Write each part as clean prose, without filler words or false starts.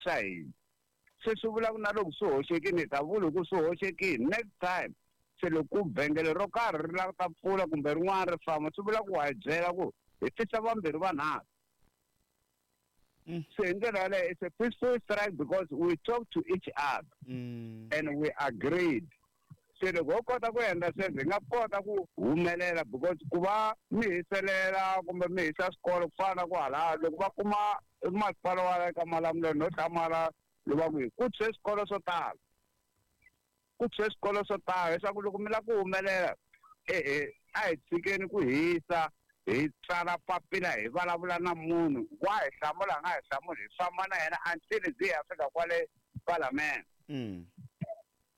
swa hina. Se swi vula ku na loko swi hoxekile hi ta vula ku swi hoxekile next time. Se loko ku vhengele ro karhi ri lava ta pfula kumbe rin'wana ri famba, swi vula ku wa hi byela ku hi tisa vambirhi vanharhu. Se hi ndlela yaleyo it's a peaceful strike because we talk to each other and we agreed. Se loko ho kota ku endla sweswo hi nga kota ku humelela, because ku va mi hiselela kumbe mi hisa swikolo ku fana na ku hala loko va kuma masipala wa le ka Malamulele no hlamala lova ku ku tshwe swikolo swo tala, ku tshwe swikolo swo tala, leswaku loko mi lava ku humelela ehe a hi tshikeni ku hisa, hi tsala papila hi vulavula na munhu wa hi hlamula a nga hi hlamuli, hi famba na yena until byi ya fika kwale Parliament.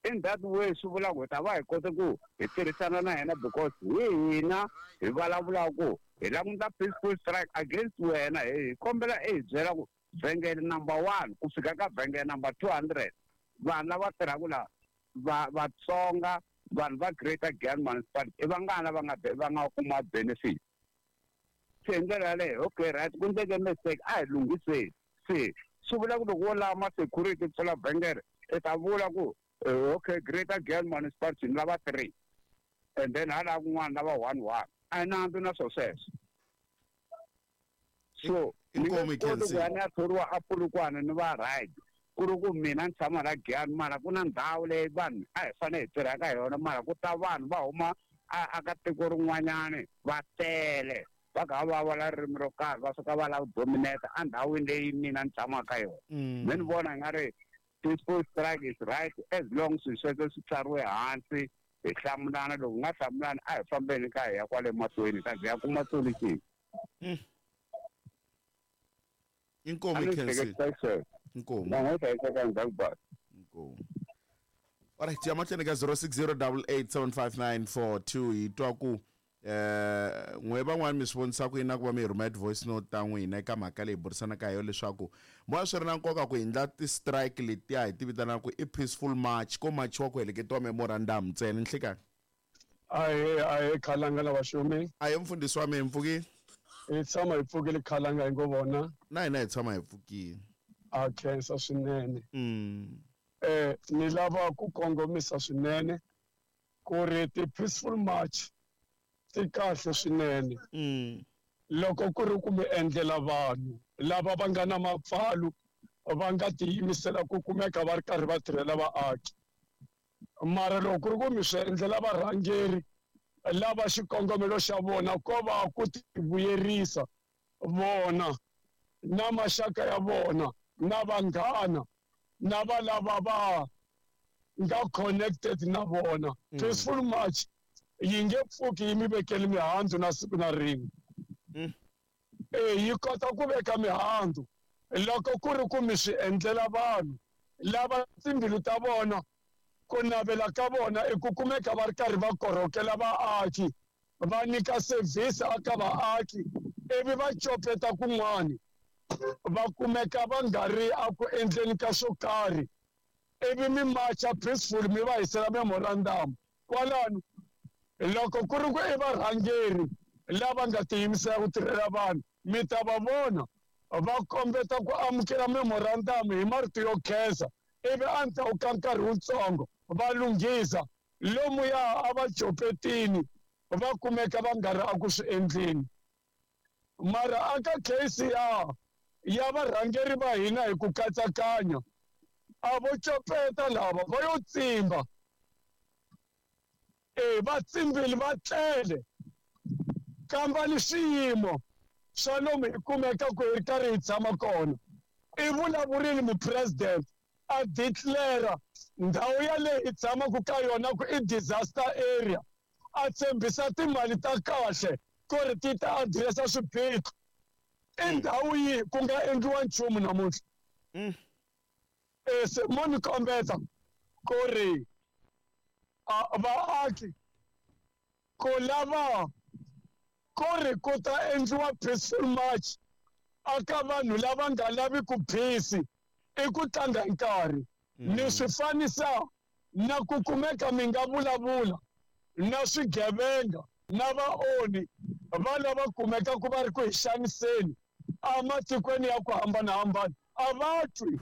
In that way swi vula ku hi ta va hi kote ku hi tirhisana na yena, because hi hina hi vulavulaka ku hi languta peaceful strike against wena, hi kombela i hi byela ku vhengele number 1 ku fika ka vhengele number 200 vanhu lava tirhaka laha va Vatsonga, vanhu va Greater Giyani Municipality i vangani lava nga va nga kuma benefit. Se hi ndlela yaleyo okay right, ku endleke mistake a hi lunghiseni. Se swi vula ku loko wo lava ma-security pfula vhengele i ta vula ku okay Greater Giyani Municipality ni lava 3 and then hala kun'wana lava 1 1, a hi nandzu na swo sweswo. So ni nge koti ku ya ni ya thoriwa a Polokwane ni va right, ku ri ku mina ni tshama la Giyani, mara ku na ndhawu leyi vanhu a hi fanele hi tirha ka yona, mara ku ta vanhu va huma a ka tiko rin'wanyani va tele va kha va vulavula ririmi ro karhi, va suka va lava ku dominate endhawini leyi mina ni tshamaka ka yona. Me ni vona i nga ri peaceful strike is right as long swilo sweswo swi tsariwe hansi hi hlamulana. Loko hi nga hlamulani a hi fambeni ka hi ya kwale mahlweni ta ya kuma solution. Inkomu Khensi. Inkomu. Inkomu. Alright, ya mahlweni ka 0608875942 hi twa ku n'we van'wani mi swi vonisa ku yini na ku va mi rhumela ti-voice note ta n'wina eka mhaka leyi burisanaka hi yona, leswaku moya swi ri na nkoka ku endla ti-strike letiya hi ti vitanaka ku i peaceful march, ko machiwa ku heleketiwa memorandum ntsena. Nhlikani. Ahee, ahee khalanga na vaxumi. Ahee mfundhisi wa mina, mpfukile? Hi tshama hi pfukile khalanga hi ngo vona. Na hina hi tshama hi pfukile. A khensa swinene. Ni lava ku kongomisa swinene ku ri ti-peaceful march ti kahle swinene. Loko ku ri ku mi endlela vanhu lava va nga na mapfalo va nga tiyimisela ku kumeka va ri karhi va tirhela vaaki. Mara loko ku ri ku mi swi endlela varhangeri lava xikongomelo xa vona ko va ku tivuyerisa vona na maxaka ya vona na vanghana na va lava va nga connected na vona, peaceful march yi nge pfuki yi mi vekeli mihandzu na siku na rin'we. Yi kota ku veka mihandzu loko ku ri ku mi swi endlela vanhu lava timbilu ta vona ku navela ka vona i ku kumeka va ri karhi va korhokela vaaki, va nyika service aka vaaki, ivi va copeta kun'wani va kumeka va nga ri a ku endleni ka swo karhi, ivi mi marcha peaceful mi va hisela memorandum kwalano. Loko ku ri ku i varhangeri lava nga tiyimisela ku tirhela vanhu, mi ta va vona va kombeta ku amukela memorandum hi marito yo khensa, ivi endzhaku ka nkarhi wutsongo va lunghisa lomuya a va copetini va kumeka va nga ri a ku swi endleni. Mara aka case ya varhangeri va hina hi ku katsakanya, a vo copeta lava va yo tsimba. Va tsimbile va tlele, kamba ni swiyimo swa lomu hi kumeka ku hi ri karhi hi tshama kona. I vulavurile mupresident a declare ndhawu yaleyi hi tshamaka ka yona ku i disaster area, a tshembisa timali ta kahle ku ri ti ta addressa swiphiqo. I ndhawu yihi ku nga endliwa nchumu namuntlha? Se mo ni kombeta ku ri vaaki ku lava ku ri ku ta endliwa peaceful march aka vanhu lava nga lavi ku peace i ku tlanga hi nkarhi. Ni swi fanisa na ku kumeka mi nga vulavula na swigevenga na vaonhi va lava kumeka ku va ri ku hi xaniseni ematikweni ya ku hambanahambana, a va twi.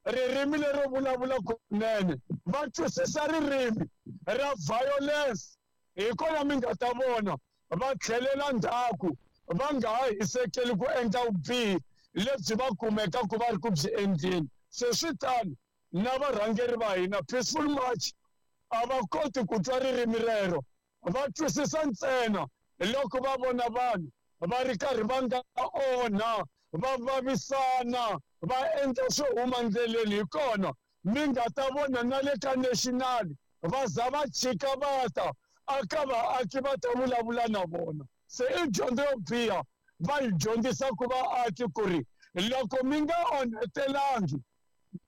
Ririmi lero vulavula kunene, va twisisa ririmi ra violence. Hi kona mi nga ta vona va tlhelela ndzhaku, va nga ha hisekeli ku endla vubihi lebyi va kumekaka va ri ku byi endleni. Se swi tano na varhangeri va hina, peaceful march a va koti ku twa ririmi rero, va twisisa ntsena loko va vona vanhu va ri karhi va nga onha, va vavisana, va endla swo huma ndleleni. Hi kona mi nga ta vona na le ka national va za va chika va ta aka vaaki va ta vulavula na vona. Se i dyondzo yo biha va yi dyondzisa ku vaaki ku ri loko mi nga onhetelangi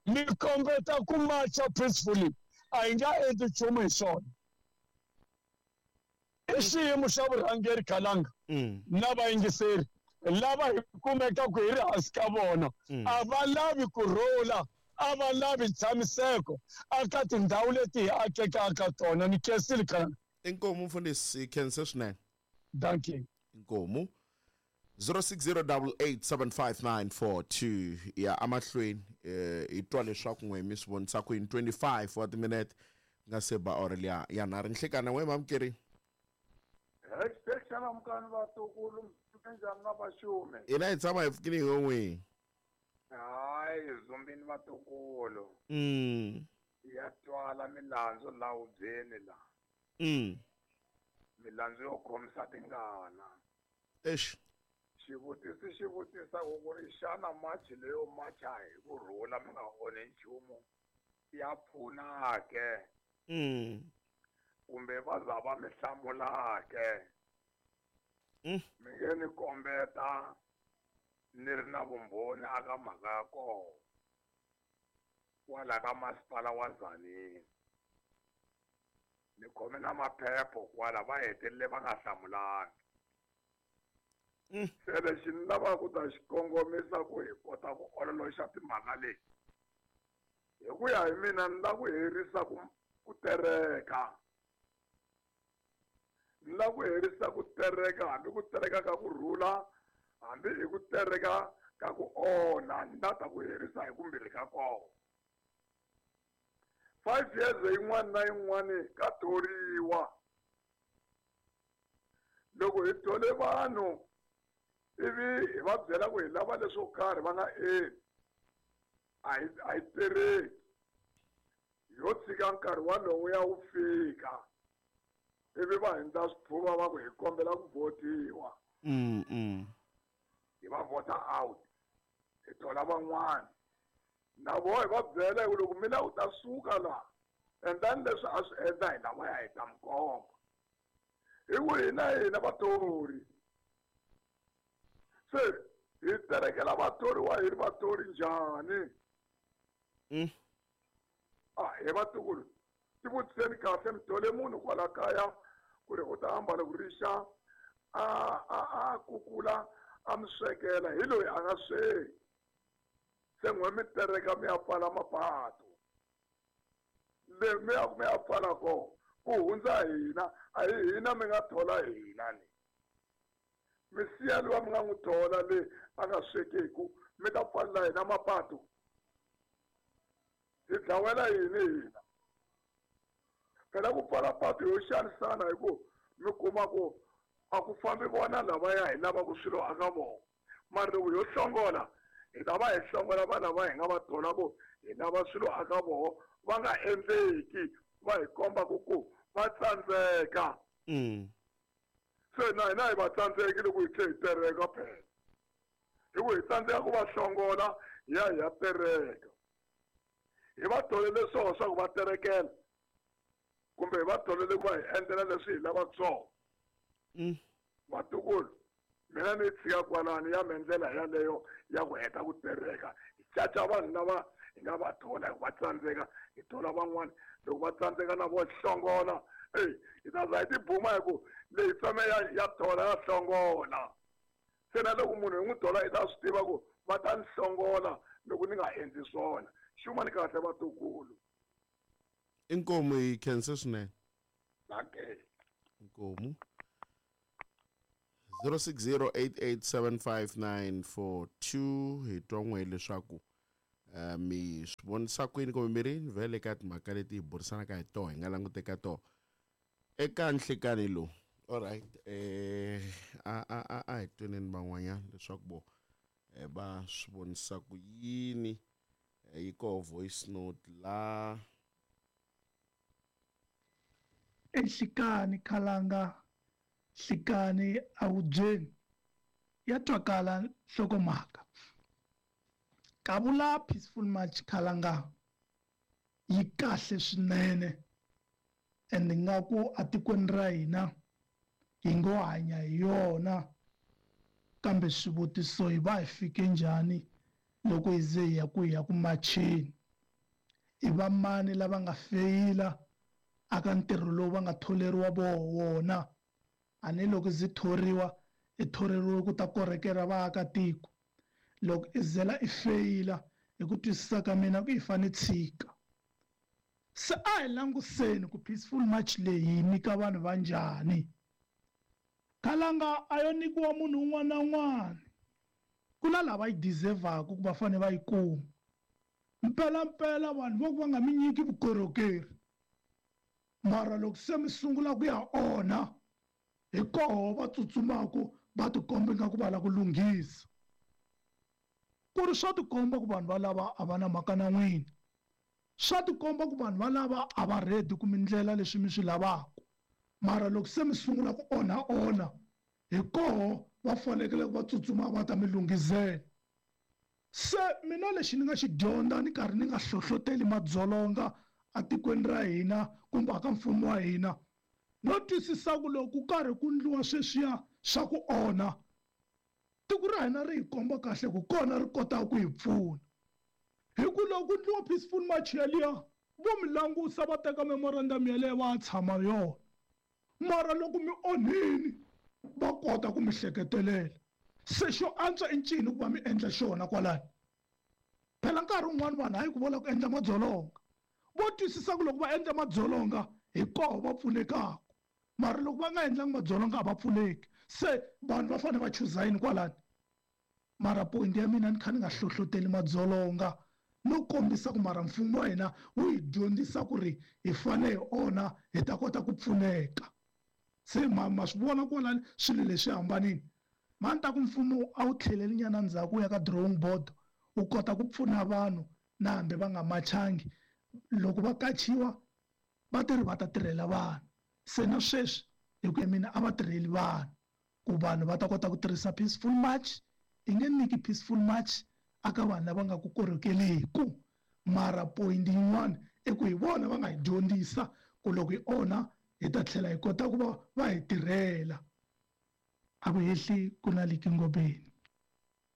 mi kombeta ku macha peacefully, a hi nga endli nchumu hi swona. I xiyimo xa vurhangeri Khalanga na vayingiseri lava hi kumekaka hi ri hansi ka vona, a va lavi ku rhula, a va lavi ntshamiseko aka tindhawu leti hi akekaka ka tona. Ni khensile, Khalanga. Inkomu mfundhisi, khense swinene. Dankie. Inkomu. 0608875942 ya amahlweni. Hi twa leswaku n'we mi swi vonisa ku yini. 25 wa timinete nga se ba awara liya ya nharhu nhlikana. N'we mamukeri. Xana mukani vatukulu, njhani na vaxume? Hina hi tshama hi pfukile hi n'wini. Hayi, zumbini vatukulu. Ya twala milandzu la hubyeni la. Milandzu yo khomisa tingana. Eish. Xivutiso xi vutisa ku ri xana machi leyo macha hi ku rhula mi nga onhi nchumu ya pfuna ke? Kumbe va za va mi hlamula ke? Mi nge ni kombeta ni ri na vumbhoni aka mhaka ya kona kwala ka masipala wa Tzaneen. Ni khome na maphepho kwala, va hetelele va nga hlamulangi. Se lexi ni lavaka ku ta xi kongomisa ku hi kota ku ololoxa timhaka leti, hi ku ya hi mina ni lava ku herisa ku tereka. Ni lava ku herisa ku tereka, hambi ku tereka ka ku rhula, hambi hi ku tereka ka ku onha, ni lava ta ku herisa hi kumbirhi ka kona. 5 years yin'wana na yin'wana ka thoriwa. Loko hi thole vanhu ivi hi va byela ku hi lava leswo karhi va nga endli, a hi tereki. Yo tshika nkarhi walowo ya wu fika ivi va hundza swipfuva va ku hi kombela ku votiwa. Hi va vota out, hi thola van'wana. Na voho hi va byela hi ku loko mi lava ku ta suka laha, endlani leswi a swi endla hi lavaya hi ta mi komba. Hi ku hina hina vathori. Se hi terekela vathoriwa hi ri vathori njhani? Hi vatukulu, tivutiseni kahle, mi thole munhu kwala kaya ku ri u ta ambala ku rixa, a kukula, a mi swekela, hi loyi a nga sweki. Se n'we mi tereka mi ya pfala mapatu. Le mi ya mi ya pfala kona, ku hundza hina, a hi hina mi nga thola hina ni. Mi siya luwa mi nga n'wi thola le a nga swekeku, mi ta pfalela hina mapatu. Hi dlawela yini hina? Phela ku pfala patu yo xanisana hi ku mi kuma ku a ku fambi vona lavaya hi lavaka swilo aka vona. Mara loko yo hlongola, hi ta va hi hlongola va lava hi nga va thola ku hi lava swilo aka vona, va nga endleki, va hi komba ku va tsandzeka. Se na hina hi va tsandzeki loko hi tlhe hi tereka phela. Hi ku hi tsandzeka ku va hlongola, hi ya hi ya tereka. Hi va tholele swona swa ku va terekela, kumbe hi va tholele ku va hi endlela leswi hi lavaka swona. Vatukulu, mina ni tshika kwalano ya me ndlela yaleyo ya ku heta ku tereka. Hi caca vanhu lava hi nga va thola hi ku va tsandzeka, hi thola van'wana. Loko va tsandzeka na vo hlongola, ey, hi ta za hi tibuma hi ku leyi feme ya thola ya hlongola. Se na loko munhu hi n'wi thola hi ta swi tiva ku va ta ni hlongola loko ni nga endli swona. Xumani kahle vatukulu. Inkomu, hi khense swinene. Dankie. Inkomu. 0608875942 hi twa n'we leswaku Mi swi vonisa kwini kumbe mi ri vhele ka timhaka leti hi burisanaka hi toho hi nga languteka toho eka nhlikani lowu. Alright, a hi tweneni van'wanyana leswaku vo va swi vonisa ku yini. Yi koho voice note la. Enhlikani khalanga nhlikani awubyeni ya twakala nhlokomhaka. Kavula peaceful march khalanga yi kahle swinene and nga ku atikweni ra hina hi ngo hanya hi yona, kambe swivutiso hi va hi fike njhani loko hi ze hi ya ku hi ya ku macheni. I va mani lava nga feyila aka ntirho lowu va nga tholeriwa wona? A ni loko zi thoriwa i thoreriwe ku ta korhokela vaakatiko. Loko i zela i feyila hi ku twisisa ka mina ku i fane tshika. Se a hi languseni ku peaceful march leyi yi nyika vanhu va njhani. Khalanga a yo nyikiwa munhu un'wana na un'wana, ku na lava yi deservaka ku va fanele va yi kuma. Mpelampela vanhu vo ku va nga mi nyiki vukorhokeri, mara loko se mi sungula ku ya onha hi koho va tsutsumaku va tikomba ingaku va lava ku lunghisa. Ku ri swa tikomba ku vanhu va lava a va na mhaka na n'wina, swa tikomba ku vanhu va lava a va ready ku mi ndlela leswi mi swi lavaka, mara loko se mi sungula ku onha onha hi koho va fanekele ku va tsutsuma va ta mi lunghisela. Se mina lexi ni nga xi dyondza ni karhi ni nga hlohloteli madzolonga atikweni ra hina kumbe aka mfumo wa hina, no twisisa ku loko ku karhi ku ndliwa sweswiya swa ku onha, tiko ra hina ri hi komba kahle ku kona ri kotaka ku hi pfuna. Hi ku loko ku ndliwa peaceful march yaliya, vo mi langusa va teka memorandum yaleyo va ya tshama yona, mara loko mi onhini va kota ku mi hleketelela. Se xo antswa i ncini ku va mi endla xona kwalani? Phela nkarhi wun'wani vanhu hayi ku vola ku endla madzolonga, vo twisisa ku loko va endla madzolonga hi koho va pfunekaka, mara loko va nga endlangi madzolonga a va pfuneki. Se vanhu va fanele va chuza yini kwalani? Mara point ya mina ni kha ni nga hlohloteli madzolonga, no kombisa ku mara mfumo wa hina wu hi dyondzisa ku ri hi fanele hi onha hi ta kota ku pfuneka. Se ma swi vona kwalani swilo leswi hambanini. Ma ni ta ku mfumo a wu tlheleli nyana ndzhaku wu ya ka drawing board, wu kota ku pfuna vanhu na hambi va nga machangi. Loko va kachiwa va tirhi va ta tirhela vanhu. Se na sweswi hi ku ya mina a va tirheli vanhu ku vanhu va ta kota ku tirhisa peaceful march. I nge nyiki peaceful march aka vanhu lava nga ku korhokeliku, mara point yin'wana i ku hi vona va nga hi dyondzisa ku loko hi onha hi ta tlhela hi kota ku va va hi tirhela. A ku hehli ku na Liki Ngobeni.